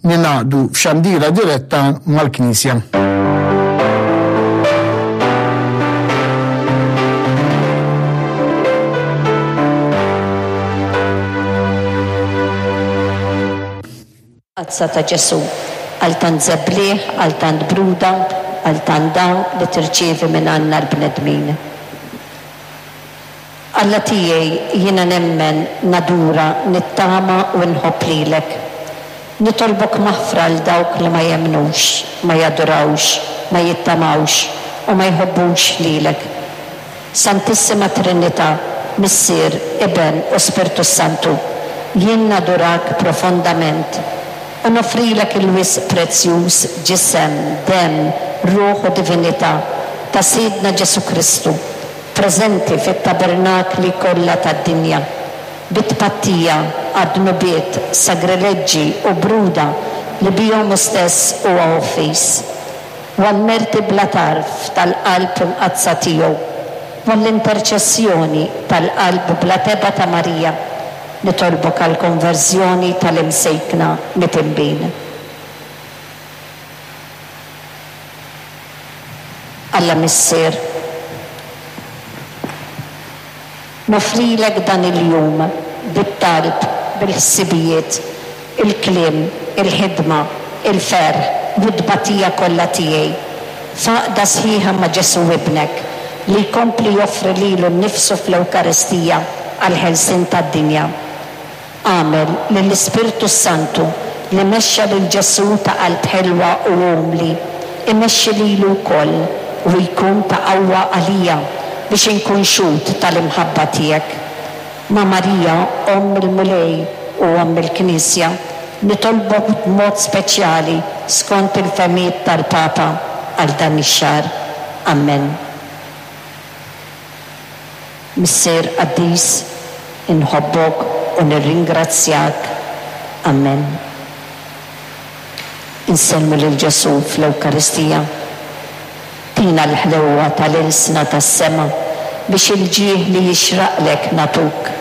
Ningħaqdu f'xandira diretta mal-Knisja. Tazza ta' Ġesù, għal tant żebliħ, għal tant bruda, għal tant dawl li tirċievi minn għandna l-bnedmin. Alla tiegħi, jiena nemmen, nadura, nittama u nħobb lilek. Nitolbok maħfra għal dawk li ma jemmnux, ma jadurawx, ma jittamawx u ma jħobbux lilek. Santissima Trinità, Missier, Iben u Spirtu s-Santu, jien nadurak profondament u noffrilek il-wisq prezzjuż Ġisem, Demm, Ruħ u Divinità ta' Sidna Ġesù Kristu, preżenti fit-tabernakli kollha tad-dinja, bi tpattija għad-dnubiet, sagrileġġi u bruda li bihom hu stess huwa offiż, u għall-merti bla tarf tal-Qalb Imqaddsa tiegħu, u għall-interċessjoni tal-Qalb bla tebgħa ta' Marija, nitolbok għall-konverżjoni tal-imsejkna mitinbin. Alla Missier, noffrilek dan il-jum bit-talb, bil-ħsibijiet, il-kliem, il-ħidma, il-ferħ u t-tbatija kollha tiegħi, f'għaqda sħiħa ma' Ġesù Ibnek, li jkompli joffri lilu nnifsu fl-Ewkaristija għall-ħelsien tad-dinja. Agħmel li l-Ispirtu s-Santu, li mexxa lil Ġesù ta' qalb ħelwa u umli, imexxi lili wkoll u jkun ta' qawwa għalija biex inkun xhud tal-imħabba tiegħek. Ma' Marija, Omm il-Mulej u Omm il-Knisja, nitolbok b'mod speċjali skont il-fehmiet tal-Papa għal dan ix-xahar. Ammen. Missier qaddis, inħobbok u nirringrazzjak. Ammen. Insellmu lil Ġesù fl-Ewkaristija. Tina l-ħlewwa tal-ilsna tas-sema biex il-ġieħ li jixraqlek nagħtuk.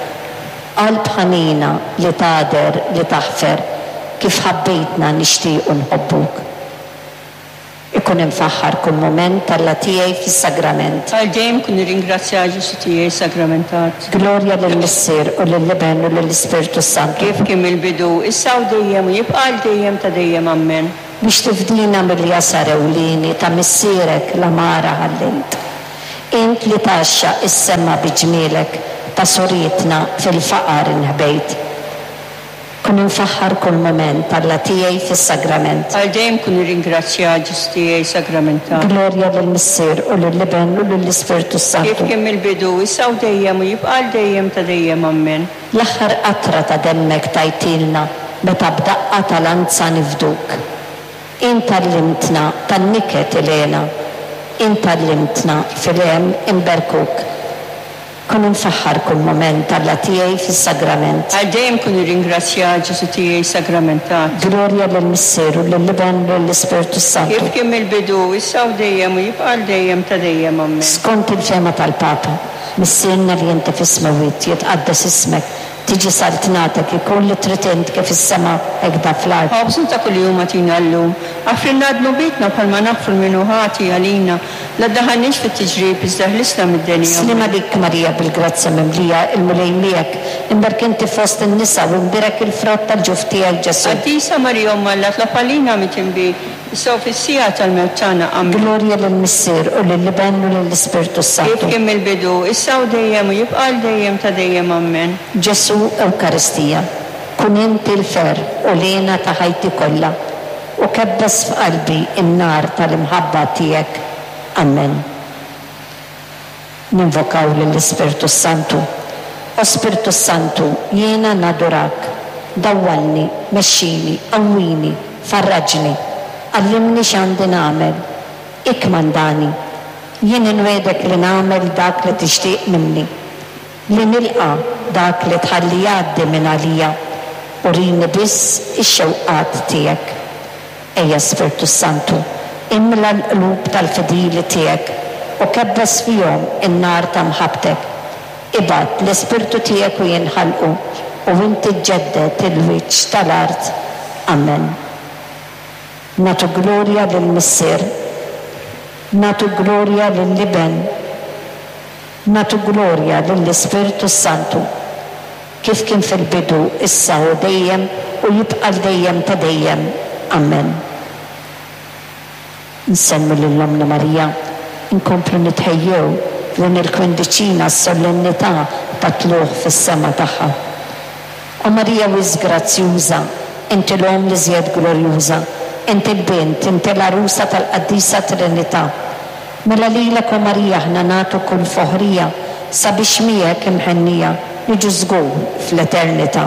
Qalb ħanina li tagħder li taħfer, kif ħabbejtna nixtiequ nħobbuk. Ikun imfaħħar kull mument Alla tiegħi fis-Sagrament. Għal dejjem kun irringrazzjat Ġesù tiegħi sagramentat. Glorja lill-Missier u lill-Iben u lill-Ispirtu s-Santu. Kif kien mill-bidu, issa u dejjem u jibqa' għal dejjem ta' dejjem. Ammen. Biex tifdina mill-jasar ewlieni ta' missierek l-għamara ħallejt. Int li tgħaxxaq is-sema bi ġmielek ta' surietna fil-faqar inħbejt. Kun imfaħħar kull mument, Alla tiegħi fis-Sagrament. Għal dejjem kun irringrazzjat, Ġesù tiegħi sagramentat. Glorja lill-Missier u lill-Iben u lill-Ispirtu s-Santu. Kif kien mill-bidu, issa u dejjem u jibqa' għal dejjem ta' dejjem. Ammen. L-aħħar qatra ta' demmek tajtilna meta b'daqqa ta' lanza nifduk. Int għallimtna tan-niket il-hena. Int għallimtna fil-hemm inberkuk. Kun imfaħħar kull mument, Alla tiegħi fis-Sagrament. Għal dejjem kun irringrazzjat, Ġesù tiegħi sagramentat. Glorja lill-Missier u lill-Iben u lill-Ispirtu s-Santu. Kif kien mill-bidu, issa u dejjem u jibqa' għal dejjem ta' dejjem. Ammen. Skont il-fehma tal-Papa, Missierna li inti fis-smewwiet, jitqaddes ismek, Tiġi saltnatek, ikun li trid int kif fis-sema hekk da fl-art. Ħobżna ta' kuljum agħtina llum. Aħfrilna dnubietna bħalma naħfru 'l min hu ħati għalina. La ddaħħalniex fit-tiġrib, iżda ħlisna mid-deni. Ammen. Sliem għalik Marija bil-grazzja mimlija, il-Mulej miegħek, imberk inti fost in-nisa u imbierek il-frott tal-ġuf tiegħek Ġesù. Qaddisa Marija Omm Alla tlob għalina mitinbin, issa u fis-siegħa tal-mewt tagħna. Ammen. Glorja lill-Missier u lill-Iben u lill-Ispirtu s-Santu. Kif kien mill-bidu, issa u dejjem u jibqa' għal dejjem ta' dejjem. Ammen. Ġesù Ewkaristija, kun inti l-ferħ u l-hena ta' ħajti kollha, u kebbes f'qalbi n-nar tal-imħabba tiegħek. Ammen. Ninvokaw lill-Ispirtu s-Santu. O Spirtu s-Santu, jiena nadurak. Dawwalni, mexxini, qawwini, farraġni. Għallimni x'għandi nagħmel. Ikkmandani. Jien inwiegħdek li nagħmel dak li tixtieq minni. Li nilqa' dak li tħalli jgħaddi minn għalija. Urini biss ix-xewqat tiegħek. Ejja Spirtu s-Santu, imla l-qlub tal-fidili tiegħek u kebbes fihom in-nar ta' mħabbtek. Ibgħat l-Ispirtu tiegħek u jinħalqu, u inti ġġedded il-wiċċ tal-art. Amen. Nagħtu glorja lill-Missier. Nagħtu glorja lill-Iben. Nagħtu glorja lill-Ispirtu s-Santu. Kif kien fil-bidu, issa u dejjem, u jibqa' għal dejjem ta' dejjem. Amen. Nsellmu lil Ommna Marija, inkomplu nitħejjew f'din il-kwindiċina għas-solennità tat-Tlugħ fis-Sema tagħha. O Marija wisq grazzjuża, inti l-Omm l-iżjed glorjuża, inti l-Bint, inti l-Għarusa tal-Qaddisa Trinità. Mela lilek o Marija aħna nagħtu kull foħrija sabiex miegħek imħennija niġu żgur fl-eternità.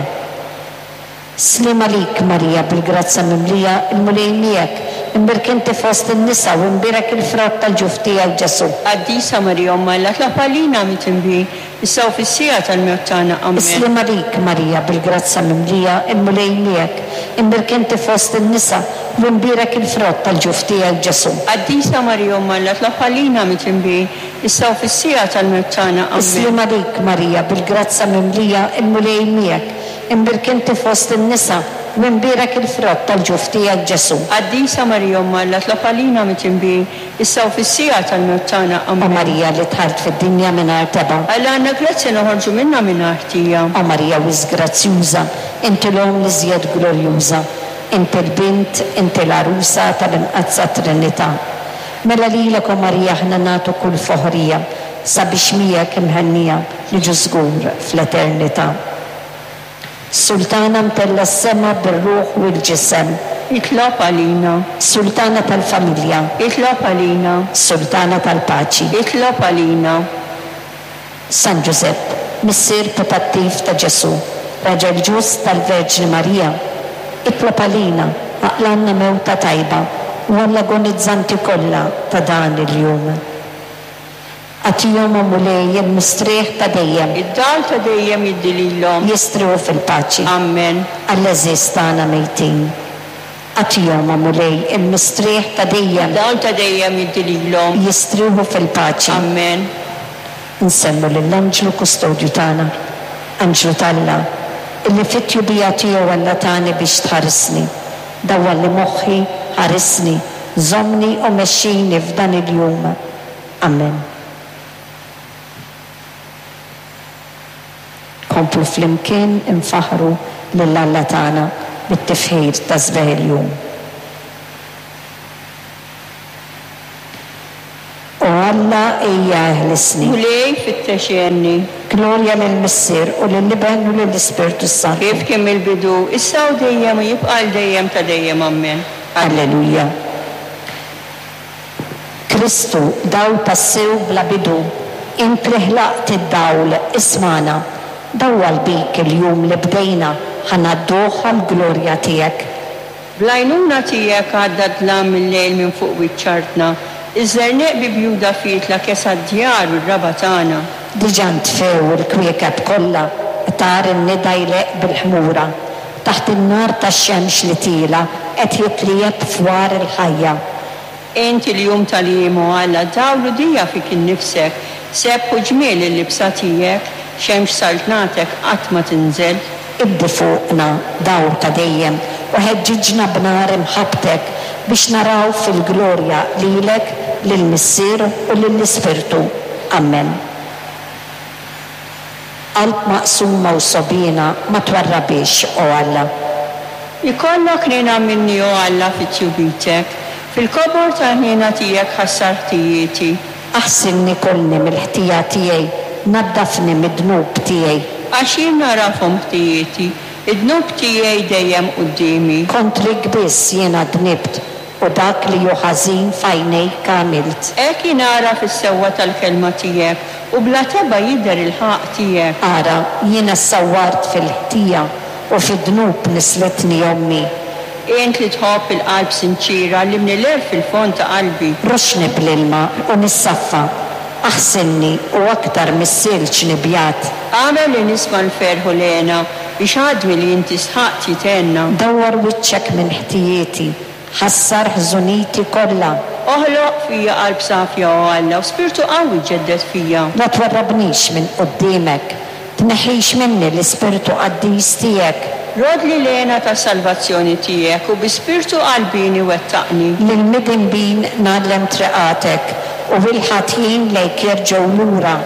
Sliem għalik, Marija, bil-grazzja mimlija, il-Mulej miegħek, imbierk inti fost in-nisa u imbierek il-frott tal-ġuf tiegħek, Ġesù. Qaddisa Marija Omm Alla, tlob għalina midinbin, issa u fis-siegħa tal-mewt tagħna. Ammen. Sliem għalik, Marija, bil-grazzja mimlija, il-Mulej miegħek, imbierk inti fost in-nisa u imbierek il-frott tal-ġuf tiegħek, Ġesù. Qaddisa Marija Omm Alla, tlob għalina midinbin, issa u fis-siegħa tal-mewt tagħna. Ammen. Sliem għalik, Marija, bil-grazzja mimlija, il-Mulej miegħek, Imbierk inti fost in-nisa, u imbierek il-frott tal-ġuf tiegħek, Ġesù. Qaddisa Marija Omm Alla, tlob għalina midinbin, issa u fis-siegħa tal-mewt tagħna. O Ammen. Marija li dħalt fid-dinja mingħajr tebgħa. Alla għandna grazzja noħorġu minnha mingħajr ħtija. O Marija wisq grazzjuża, inti l-Omm l-iżjed glorjuża, inti l-Bint, inti l-Għarusa tal-Imqaddsa Trinità. Mela lilek, o Marija, aħna nagħtu kull foħrija, sabiex miegħek imhennija niġu żgur fl-eternità. Sultana mtellgħa s-sema bir-ruħ u l-ġisem. Itlob għalina. Sultana tal-familja. Itlob għalina. Sultana tal-paċi. Itlob għalina. San Ġużepp, missier putattiv ta' Ġesù, raġel ġust tal-Verġni Marija, itlob għalina, aqlgħalna mewta tajba u għall-agonizzanti kollha ta' dan il-jum. Agħtihom, o Mulej, il-mistrieħ ta' dejjem. Id-dawl ta' dejjem jiddi lilhom. Jistrieħu fil-paċi. Ammen. Għall-għeżież tagħna mejtin. Agħtihom, o Mulej, il-mistrieħ ta' dejjem. Id-dawl ta' dejjem jiddi lilhom. Jistrieħu fil-paċi. Ammen. Insellmu lill-Anġlu Kustodju tagħna, Anġlu t'Alla, illi fit-tjubija tiegħu Alla tani biex tħarisni. Dawwalli moħħi, ħarisni, żommni u mexxini f'dan il-jum. Amen. Komplu flimkien infaħħru lil Alla tagħna bit-tifħir ta' sbieħ il-jum. O Alla ejja eħlisni. Mulej fittex għenni. Glorja lill-Missier u lill-Iben u lill-Ispirtu s-Santu. Kif kien mill-bidu, issa u dejjem u jibqa' għal dejjem ta' dejjem. Ammen. Alleluja. Kristu, dawl tassew bla bidu, int li ħlaqt id-dawl, ismagħna. Dawwal bik il-jum li bdejna ħa ngħadduh għall-glorja tiegħek. Bl-għajnuna tiegħek għadda d-dlam mil-lejl minn fuq wiċċ artna, iż-żerniq bi bjuda fietla kesa d-djar u r-raba' tagħna. Diġà ntfew il-kwiekeb kollha, qtar in-nida jleqq bil-ħmura, taħt in-nar tax-xemx li tiela' qed jitliegħeb fwar il-ħajja. Int il-jum tal-jiem, o Alla, dawl u dija fik innifsek, sebħ u ġmiel il-libsa tiegħek, xemx saltnatek qatt ma tinżel. Iddi fuqna, dawl ta' dejjem, u ħeġġiġna b'nar imħabbtek, biex naraw fil-glorja lilek, lill-Missier u lill-Ispirtu. Ammen. Qalb maqsuma u sogħbiena ma twarrabhiex, o Alla. Ikollok ħniena minni, o Alla, fi tjubitek. Fil-kobor tal-ħniena tiegħek ħassar ħtijieti. Aħsilni kollni mill-ħtija tiegħi, naddafni mid-dnub tiegħi. Għax jien nagħrafhom ħtijieti, id-dnub tiegħi dejjem quddiemi. Kontrik biss jiena dnibt, U dak li hu ħażin f'għajnejk għamilt. Hekk jingħaraf is-sewwa tal-kelma tiegħek, u bla tebgħa jidher il-ħaqq tiegħek. Ara, jiena ssawwart fil-ħtija, u fid-dnub nislitni ommi. Int li tħobb il-qalb sinċiera, għallimni l-għerf fil-fond ta' qalbi. Roxxni bl-ilma, u nissaffa, aħsilni, u aktar mis-silġ nibjad. Agħmel li nisma' l-ferħ u l-hena, biex għadmi li inti sħaqt jithenna. Dawwar wiċċek minn ħtijieti, Ħassar ħżuniti kollha. Oħloq fija qalb safja, o Alla, u spirtu qawwi ġedded fija. La twarrabnix minn quddiemek, tneħħix minni l-ispirtu qaddis tiegħek. Roddli l-hena tas-salvazzjoni tiegħek u bi spirtu qalbieni wettaqni. Lill-midinbin ngħallem triqatek, u l-ħatjin lejk jerġgħu lura.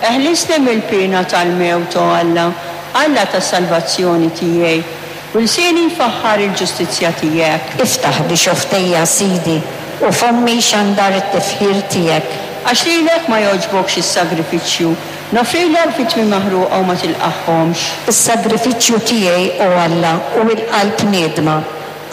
Eħlisni mill-piena tal-mewt, o Alla, Alla tas-salvazzjoni tiegħi, u lsieni jfaħħar il-ġustizzja tiegħek. Iftaħli xofftejja, Sidi, u fommi jxandar it-tifħir tiegħek. Għax lilek ma jogħġbokx is-sagrifiċċju, noffrilek vittmi maħruqa u ma tilqagħhomx. Is-sagrifiċċju tiegħi, o Alla, hu l-qalb niedma,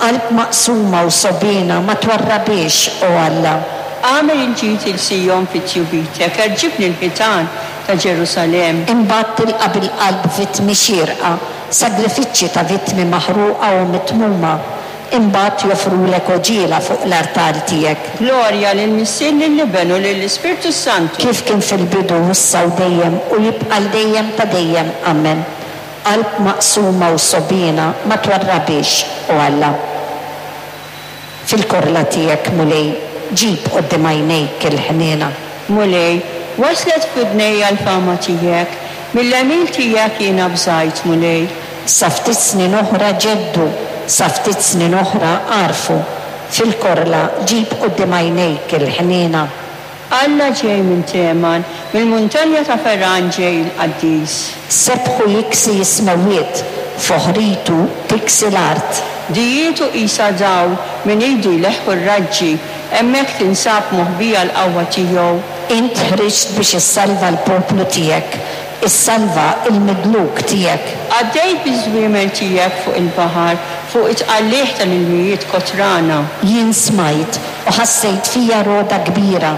qalb maqsuma u sogħbiena ma twarrabhiex, o Alla. Agħmel il-ġid 'il Sijon fi tjubitek, erġibni l-ħitan ta' Ġerusalemm. Imbagħad tilqa' bil-qalb vittmi xierqa, sagrifiċċji ta' vittmi maħruqa u mitmuma, imbagħad joffrulek għoġiela fuq l-artal tiegħek. Glorja lill-Missier, lill-Iben u lill-Ispirtu s-Santu. Kif kien fil-bidu, issa u dejjem, u jibqa' għal dejjem ta' dejjem. Amen. Qalb maqsuma u sogħbiena ma twarrabhiex, o Alla. Fil-korla tiegħek, Mulej, ġib quddiem għajnejk il-ħniena. Mulej, waslet f'widnejja l-fama tiegħek, mill-għemil tiegħek jiena bżajt, Mulej. Sa ftit snin oħra ġeddu, sa ftit snin oħra għarfu. Fil-korla ġib quddiem għajnejk il-ħniena. Alla ġej minn Teman, mill-muntanja ta' Feran ġej il-Qaddis. Sebħu jiksi s-smewwiet, foħritu tiksi l-art. Dijietu qisha dawl, minn idu jleħħu r-raġġi, hemmhekk tinsab moħbija l-qawwa tiegħu. Int ħriġt biex issalva l-poplu tiegħek, issalva l-midluk tiegħek. Għaddejt biż-żwiemel tiegħek fuq il-baħar, fuq it-tqalligħ tal-ilmijiet kotrana. Jien smajt, u ħassejt fija rogħda kbira,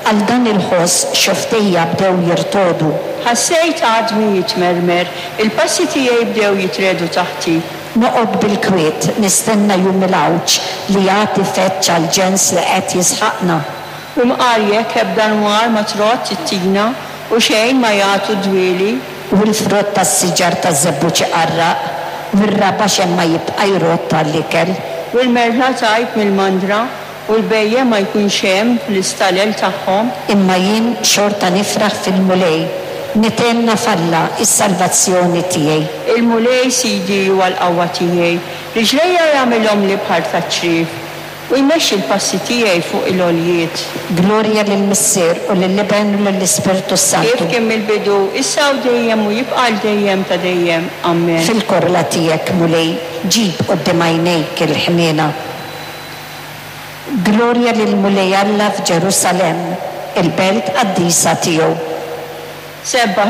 għal dan il-ħoss xofftejja bdew jirtogħdu. Ħassejt għadmi jitmermer, il-passi tiegħi bdew jitriegħdu taħti. Noqgħod bil-kwiet nistenna jum il-għawġ li jagħti feġġ għall-ġens li qed jisħaqna. U mqar jekk ebda nwar ma trodd it-tina u xejn ma jagħtu d-dwieli. U l-frott tas-siġar taż-żebbuġ iqarraq, u r-raba' xejn ma jibqa' jrodd għall-ikel. U l-merħla tgħib mill-mandra, u l-bhejjem ma jkunx hemm fl-istalel tagħhom. Imma jien xorta nifraħ fil-Mulej, nithenna f'Alla, is-salvazzjoni tiegħi. Il-Mulej Sidi huwa l-qawwa tiegħi, riġlejja jagħmilhomli bħal taċ-ċriev, u jmexxi l-passi tiegħi fuq il-għoljiet. Glorja lill-Missier, u lill-Iben, u lill-Ispirtu Kif s-Santu. kien mill-bidu, issa u dejjem u jibqa' għal dejjem ta' dejjem. Amen. Fil-korla tiegħek, Mulej, ġib quddiem għajnejk il-ħniena. Glorja lill-Mulej Alla f'Ġerusalemm, il-belt qaddisa tiegħu. Sebbaħ.